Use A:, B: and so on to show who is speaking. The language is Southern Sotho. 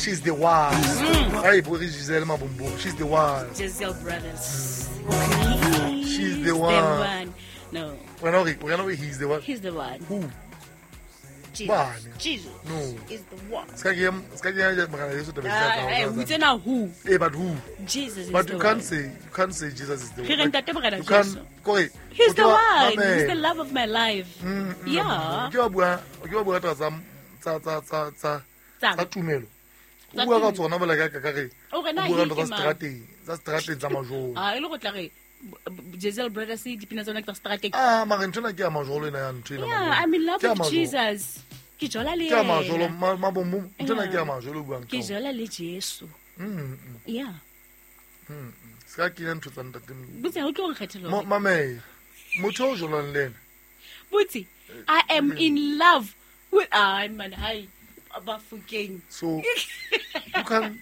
A: She's the one. Ai bo re Giselle Mabombo. She's the one.
B: Giselle Brothers.
A: She's the one.
B: No,
A: Wena o re wena o re he's the one.
B: he's the one.
A: Who?
B: Jesus.
A: Bane.
B: Jesus
A: No.
B: is the one.
A: Ska ke ska ke ya morena Jesu tabeng tsa
B: Ah, eh,
A: tsa-
B: o itse na who?
A: Eh, but who?
B: Jesus is
A: But
B: the
A: you can't
B: one.
A: say you can't say Jesus is the
B: Re
A: one.
B: re ntate Morena
A: You can't
B: Jesu.
A: kore
B: He's
A: o
B: the
A: ke wa-
B: one. He's the
A: mamela.
B: love of my life. Yeah.
A: Ke wa bua ke wa bua taba tsa tsa tsa tsa
B: Tsa-
A: tsa tumelo. O
B: Tsa
A: bua ka
B: tumelo.
A: tsona bola ka ka re.
B: O re na
A: O bua ka
B: he
A: ntho
B: ke
A: tsa
B: mang?
A: strateng, tsa strateng tsa majolo.
B: Ah, e le go tla re Giselle Brothers dipina tsa bona ke tsa strateng.
A: Ah, mara nthwena ke ya majolo ena ya ntho ena.
B: Yeah,
A: Mabombo.
B: I'm in love
A: Ke ya
B: with
A: majolo.
B: Jesus. Ke jola le
A: Ke ya majolo
B: yena.
A: mabombo. Nthwena ke ya
B: Yeah.
A: majolo o buang ka
B: Ke
A: ona.
B: jola le Jesu. Yeah.
A: Se ka kenya ntho tsa ntate.
B: Botse ha o tlo nkgethela hore-
A: Mamela. Motho o jolang le ena.
B: Botse, I am in love with, ah man, hi Bafokeng.
A: So you can